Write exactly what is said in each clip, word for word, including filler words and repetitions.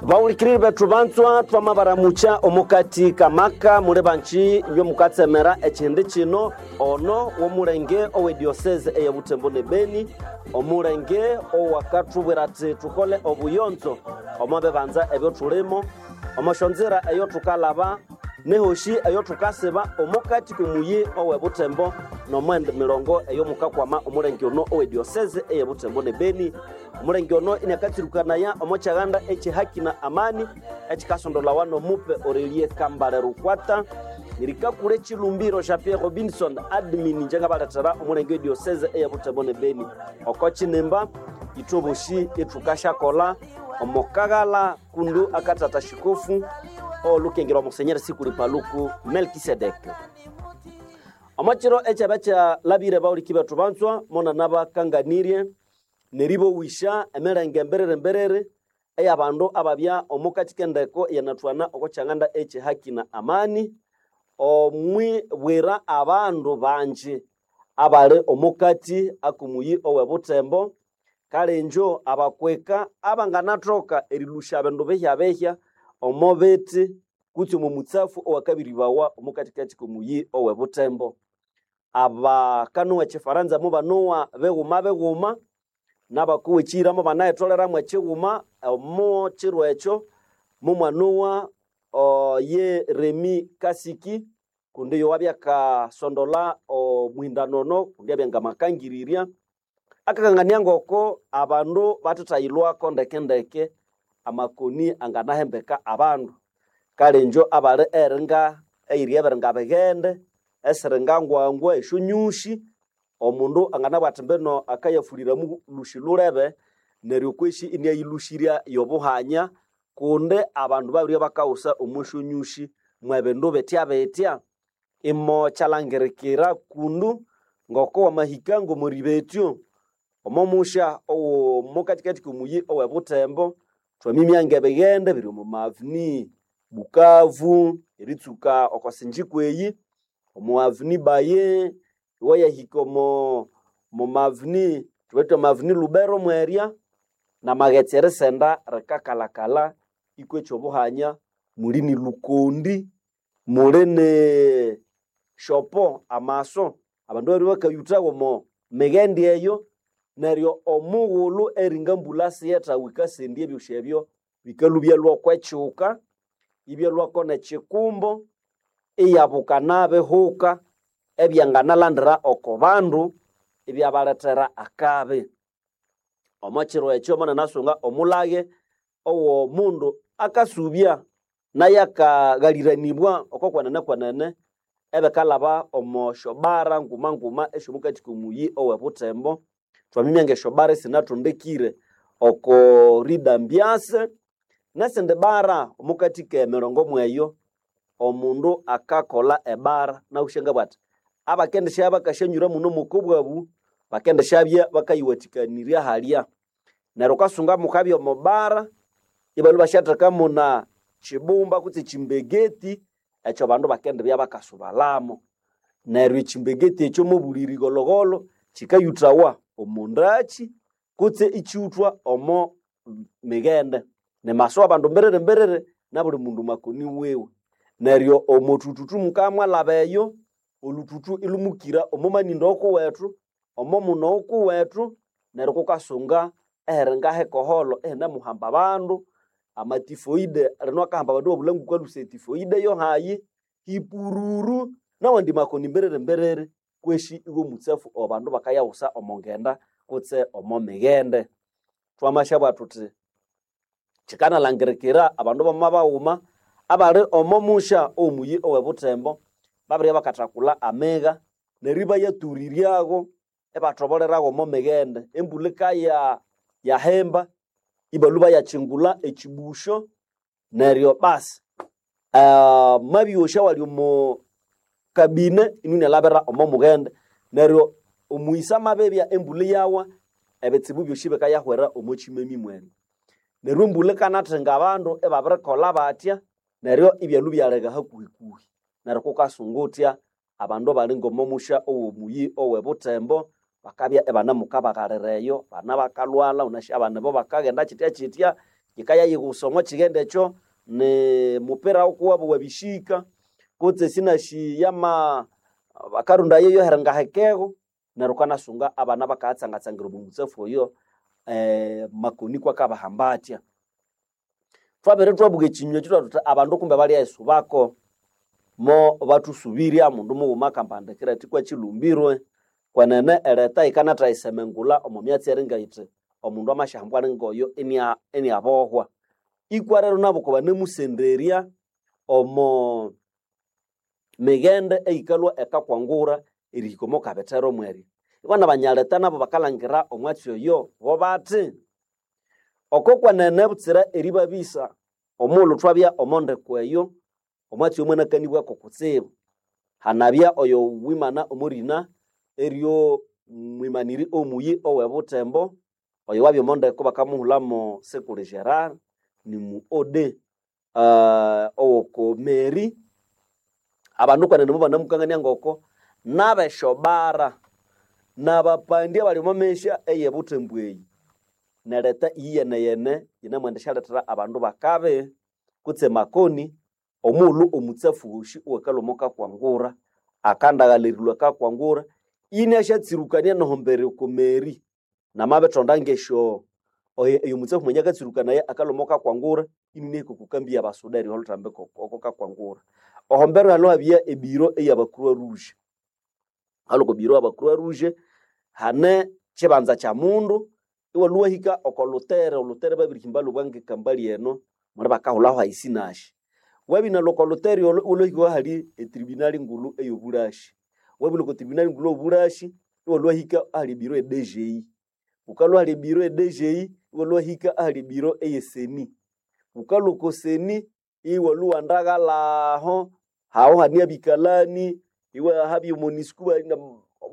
Bawulikiriri bethu banzwa twamabaramucha omukati kamaka muli banji inywe mukatsemera ekihindi kino ono w'omulenge ow'edioseze eye Butembo ne Beni, omulenge owakathubwira ati thukole obuyonzo omo bibanza ebyo thulimo, omo syonzira eyo thukalaba nehoshi eyo thukasiba omukati k'omuyi owe Butembo n'omwendi mirongo eyo mukakwama omulenge ono ow'edioseze eye Butembo ne Beni. Omulenge ono iniakatsirukanaya omo kyaghanda ekyehaki na amani ekikasondolawa n'omupe Aurelie Kambale Rukwata. Nirikakura ekilumbiro Jean Pierre Robinson admin inje ngabalethera omulenge w'edioseze eye Butembo ne Beni. Oko kinimba ithwe boshi ithukasyakolha omo kaghala kundu akatata shikofu olukengerwa Musenyeri Sikuli Paluku Melkisedeke. Omo kiro ekyaba kyalabire bawuliki bethu banzwa mona nabakanganirye neribowisha emirenge emberere emberere eyabandu ababya omukati k'endeko eyanathughana oko kyanganda ekyehaki na amani, omwibwira abandu banji abali omukati ak'omuyi owe Butembo, kale injo abakweka abanganathoka erilhusya bindu bihya-bihya omo bithi kutse omo mutsafu owakabiribawa omukatikati k'omuyi owe Butembo. Abakanowa ekifaranza mubanowa bighuma bighuma, n'abakowa ekiyira mubanayitholeramu ekighuma omo kiro ekyo mumwanowa ye Remi Kasiki kundi oyo wabya akasondola omuhindano ono kundi abya ngamakangirirya. Akakangania ngoko abandu bathithayilhwako ndeke-ndeke amakoni anganahembeka abandu. Kale injo abali eringa eyiri ebiringa bighende, esiringa ngwangwa, esyonyushi, omundu anganabugha athi mbino akayafuliramu lhushi lhulebe neryo kwesi iniayilhushirya y'obuhanya kundi abandu babiribya bakaghusa omo syonyushi mwebindu bitya-bitya. Imo kyalhangirikira kundu ngoko wamahika ng'omuribetyo omo musya ow'omukatikati k'omuyi owe Butembo, thwamimya ng'ebighende biri omo maveni Bukavu eritsuka oko Sinjiko eyi, omo aveni Baye, iwayahika omo maveni thuwithe amaveni Lubero mwerya, n'amaghetse erisenda rikakalhakalha ikwa eky'obuhanya, muli ni Lukondi, muli ni Shopo amaso, abandu babiribya bakayuthawa omo mighende eyo, neryo omughulhu eringa mbulha siyethawa yikasendya ebyosi ebyo bikalhwa ibyalhwa kw'ekyuka, ibyalhwako n'ekikumbo, iyabuka nabihuka ebyanganalandira oko bandu ibyabalethera akabi. Omo kiro ekyo monanasunga omulhaghe ow'omundu akasubya nayo akaghaliranibwa oko kwenene kwenene ebikalhaba omo syobara nguma nguma esy'omukati k'omuyi owe Butembo. Thwamimya ng'esyobara esinathondekire oko Rida Mbyase n'esindi bara omukati k'emirongo mweyo, omundu akakolha ebara naghusya ngabugha athi abakendisya bakasyanyura muno mw'oko bwabu bakendisyabya bakayiwathikanirya halya. Neryo wukasunga mukabya omo bara ibalhwa ibasyathekamu na kibumba kutse ekimbegeti ekyo bandu bakendibya bakasubalhamu. Neryo ekimbegeti ekyo mobuli righolhogholho kikayuthawa omo ndakyi kutse ikyuthwa omo mighende. Nimaso abandu mbiriri mbiriri nabuli mundu makoni wiwe. Neryo omo thuthuthu mukamwalhaba eyo, olhuthuthu ilhumukira omo manindo okuwethu, omo muno okuwethu, neryo kukasunga ehiringa hikoholho ihinemuhamba abandu, amatifoide lino akahamba abandu ibabulha ngokwalusa etifoide yohayi, hipururu n'awandi makoni mbiriri mbiriri kwesi iw'omutsafu owabandu bakayaghusa omo ngenda kutse omo mighende. Thwamasyabugha thuthi kyikanalhangirikira abandu bama baghuma abali omo musya ow'omuyi owe Butembo babiribya bakathakulha amigha neryo ibayathuriryago ibathoboleragho omo mighende. Embulha yikaya yahimba ibalhwa bayakyingulha ekyibusyo neryo basi amabyosya awali omo kabine inio inalhabira omo mughende. Neryo omuyisa amabibya embulha iyawa ebitsibu byosi bikayahwera omo kyimemi mwene. Neryo embulha yikanathinga abandu ibabirikolha batya neryo ibyalhwa ibyaleka hakuhi-kuhi. Neryo kukasunga uthya abandu abali ng'omo musya ow'omuyi owe Butembo bakabya ibanemukabaghalira eyo, bana bakalhwalha wunasi abana ibo bakaghenda kyitya kyitya. Yikaya yigusa omo kighende ekyo ni mupira ukuwabo wabishika kutse sinashi yama bakarunda yeyo herengahekego neryo ukanasunga abana bakatsangatsangira omo mutsafu oyo eh, makoni kwakabahamba atya. Twabere twabuka ekinywa ekyo twathuthi abandu kumbe balyaisubako mo bathusubirya mundu mughuma akambandikira athi kwakilumbirwe kwenene ereta yikanathayisemengulha omo myatsi eringa yithi omundu amasyahambwa ngoyo inia iniabohwa. Ikwa rero nabo banamusenderya omo mighende eyikalhwa ekakwangura erihika omo kabithero mwerya. Ibana banyaleta nabo bakalhangira omwatsi oyo bo bathi oko kwenene butsira eribabisa omughulhu thwabya omo ndeko eyo omwatsi oyo mwanakanibwako kutsibu. Hanabya oyo wimana omorina eryo mwimaniri omuyi owe Butembo oyo wabya omo ndeko bakamuhulamo Sekule Gerard ni mu O D uh, owoko Meri abandu kwenene mubanamukangania ngoko nabeshobara nabapandi abali omo mesya eye Butembo eyi nereta iyeneyene yinamwendisyalethera abandu bakabi kutse makoni omughulhu omutsafu wosi owakalhwa omo kakwangura akandaghalhirilwa kakwangura inasyatsirukania nohombere oko meri namabithonda ngesyo oyo mutsafu mwenye akatsirukanaya akalhwa omo kakwangura inunehika oko kambi yabasuda eriha olhuthambiko oko kakwangura. Ohombero halo habya ebiro eyaba Croix Rouge. Hali oko biro aba Croix Rouge hane kibanza kya mundu iwalhwa wahika oko lutere, olutere babirihimba lubwange kambali eno muli bakahulhaho haisinashi. Wabinalhwa oko lutere olho iwalhwahika ahali etribunal ngulhu eyobulashi. Wabinalhwa oko tribunal ngulhu eyobulashi iwalhwa wahika ahali ebiro e D G I. Wukalhwa ahali ebiro e D G I iwalhwa wahika ahali ebiro eye seni. Wukalhwa oko seni iwalhwa iwandaghalhaho aho hane abikalani iwahabya omonusco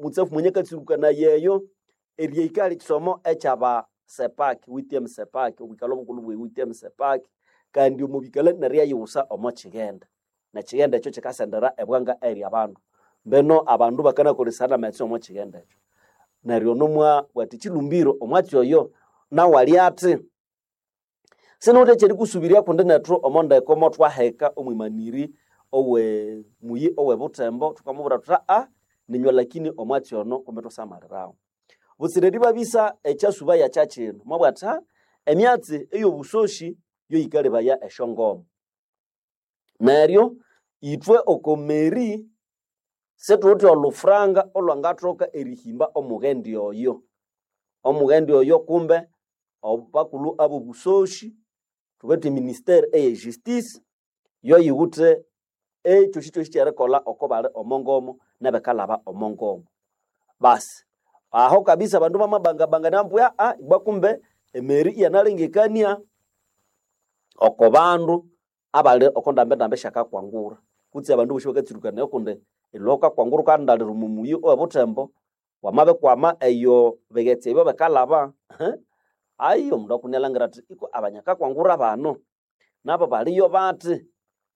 mutsafu mwenye akatsirukanaya eyo eryahika ahali ekisomo ekyaba sepak W T M sepak obwikalho obukulhu bwe W T M sepak kandi omo bikalani neryo iyayiwusa omo kighenda nekighenda ekyo kikasendera ebwanga eri abandu mbeno abandu bakanakolesana amaghetse omo kighenda ekyo. Neryo nomwabugha athi kilumbiro omwatsi oyo nawu ali athi sinawithe ekyerikusubirya kundi nethu omo ndeko mothwaheka omwimaniri owe muyi owe Butembo thukamubwira thuthi aa ninywe lakini omwatsi ono kumbe thusamalirawo. Butsira eribabisa ekyasuba yakyakino mwabugha athi aa emyatsi eyobusoshi yo yikalebaya esyongoma. Neryo ithwe oko meri sithuwithe olhufuranga olhwangathoka erihimba omughendi oyo. Omughendi oyo kumbe abakulhu abobusoshi thuwithe eministere eye justice yo yiwithe ekyosikyosi kyerikolha oko bali omo ngomo nebikalhaba omo ngomo. Basi aho kabisa abandu bamabangabangania ambu aa ibwa kumbe emeri iyanalengekania oko bandu abali oko ndambendambi syakakwangura kutse abandu bosi bakatsirukanaya kundi erilhwa wukakwangura wukaghundalira omo muyi owe Butembo wamabikwama eyo bighetse ebyo bikalhaba ayi omundu akunialhangira athi iko abanyakakwangura bano nabo baliyo bathi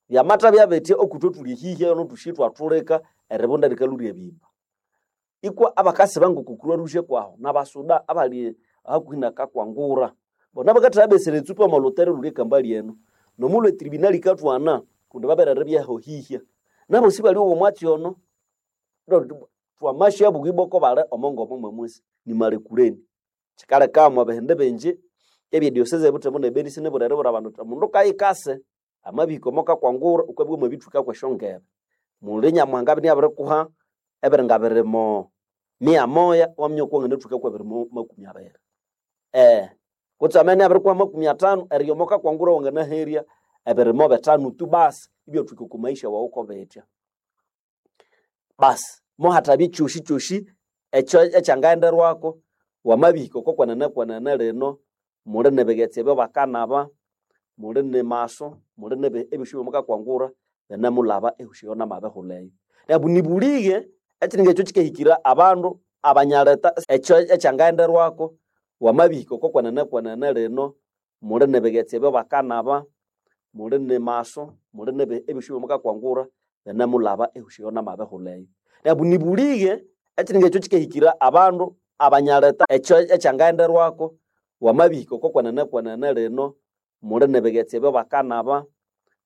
byamathabya bithi okithwe thuli ehihya eno thusi ithwathulika eribunda erikalhwa ryabimba. Ikwa abakasiba ngoko Croix Rouge kwaho nabasuda abali hakuhi nakakwangura bona bakathabesera etsupa omo lutere olhuli ekambali eno nomughulhu etribunal yikathwana kundi babere eribyaho hihya nabosi baliowa omwatsi ono thwamasyabuka ibwa oko bali omo ngomo mwamwisi nimalekuleni. Kikaleka omo bihindi bingi ebye diocese e Butembo ne Beni sinibuli eribwira abandu thuthi omundu kayikase amabihika omo kakwangura wukabya wamabithuka kwesyongebe. Muli Nyamuhanga abya inabirikuha ebiringa birimo mia moya iwaminya wuku wanganathuka kwebirimo makumi abiri. Eh, kutse amabya inabirikuha makumi athanu erya omo kakwangura wanganaherya ebirimo bithanu tu basi ibyathuka oko maisha wawu kobitya. Basi mohathabya ekyosikyosi ekyo ekyangaghenderwako wamabihika oko kwenene kwenene lino muli nibighetse ebyo bakanaba, muli ni maso, muli nibi ebyosi byomukakwangura binemulhaba ehosi eyo namabihulha eyo. Neryo nibulighe ekiringa ekyo kikahikira abandu abanyaleta ekyo ekyangaghenderwako wamabihika oko kwenene kwenene lino muli nibighetse ebyo bakanaba, muli ni maso, muli nibi ebyosi byomukakwangura binemulhaba ehosi eyo namabihulha eyo. Neryo nibulighe ekiringa ekyo kikahikira abandu abanyaleta ekyo ekyangaghenderwako wamabihika oko kwenene kwenene lino Muli nebigetsi ebyo bakanaba,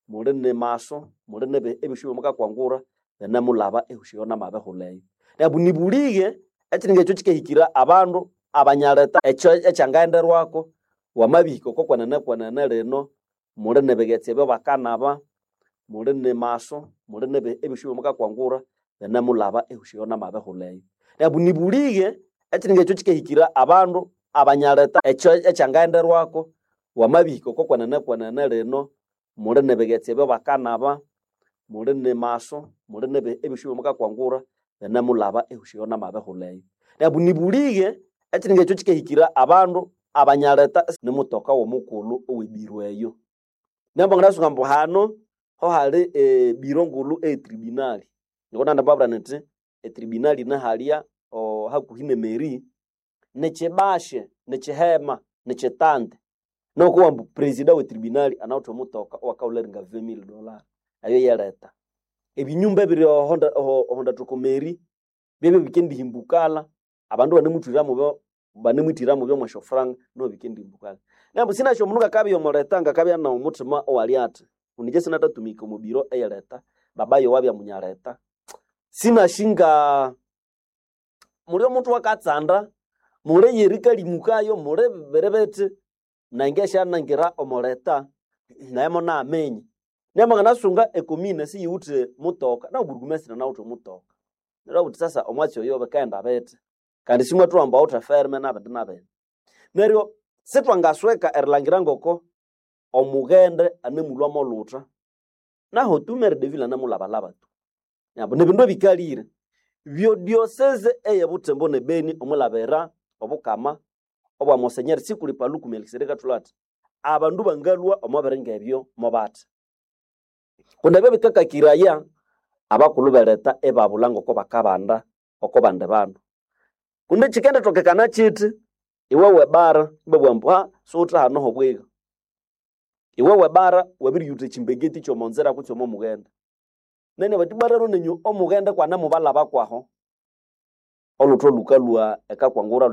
muli nemaso, muli nebe ebyosi mukakwangura binemulaba ehosi eyo namabihula eyo. Neryo nibulighe ekiringa ekyo kikahikira abandu abanyaleta ekyo ekyangaghenderwako wamabihika oko kwenene kwenene lino muli nebigetsi ebyo bakanaba, muli nemaso, muli nebe ebyosi mukakwangura binemulaba ehosi eyo namabihula eyo. Neryo nibulighe ekiringa ekyo kikahikira abandu abanyaleta ekyo ekyangaghenderwako wamabihika oko kwenene kwenene lino muli nebigetsi ebyo bakanaba, muli nemaso, muli nebe ebyosi mukakwangura binemulaba ehosi eyo namabihula eyo. Neryo nibulighe ekiringa ekyo kikahikira abandu abanyaleta nimutoka womukulhu owebiro eyo. Neryo nganasunga ambu hano hohali ebiro ngulhu eye tribunal. Niko nandibabwira nyithi etribunal yine halya hakuhi nemeri, nikyibashe, nikyihema, nikyitande. Nuku ambu president we tribunal anawithe omutoka owakawulha eringa vingt mille dollars eyo yeleta. Ebinyumba ebiri oho meri byebyo bikendihimbukala abandu banemuthwira banemwithira mubyo mwesyofuranga niho bikendihimbukala. Neryo sinasi omundu ngakabya omuleta ngakabya nomuthima owali athi kundi ingye sinathatumika omo biro eyeleta, baba yayi wabya munyaleta. Sinasi nga muli omuthi wakatsanda, muli eyerikalimukayo, muli biribithi nenge syanangira omuleta nayi munaminya. Neryo mwanganasunga ecommune siyiwithe mutoka nawu burugumestre anawithe omutoka. Neryo iwabugha wuthi sasa omwatsi oyo bikaghenda bithi kandi simwathuwa ambu awithe eferme nabindi nabindi. Neryo sithwangasweka erilhangira ngoko omughende anemulhwa molhutha naho tu maire de ville anemulhabalhaba tu. Neryo nibindu ebikalire. Byo diocese eye Butembo ne Beni omwilhabira obukama obwa Monseigneur Sikuli Paluku Melkisedeki akathulha athi abandu bangalhwa omo biringa ebyo mobathi. Kundi ebyo bikakakiraya abakulhu beleta ibabulha ngoko bakabanda oko bandi bandu. Kundi kyikendithokekana kyithi iwe webara ibabugha ambu ha siwuthe hano hobwiga. Iwe webara wabiriyutha ekyimbegeti kyomo nzira kutse omo mughende. Nene bathi bwa rero nenyu omughende kwanemubalhaba kwaho olhuthu lhukalhwa ekakwangura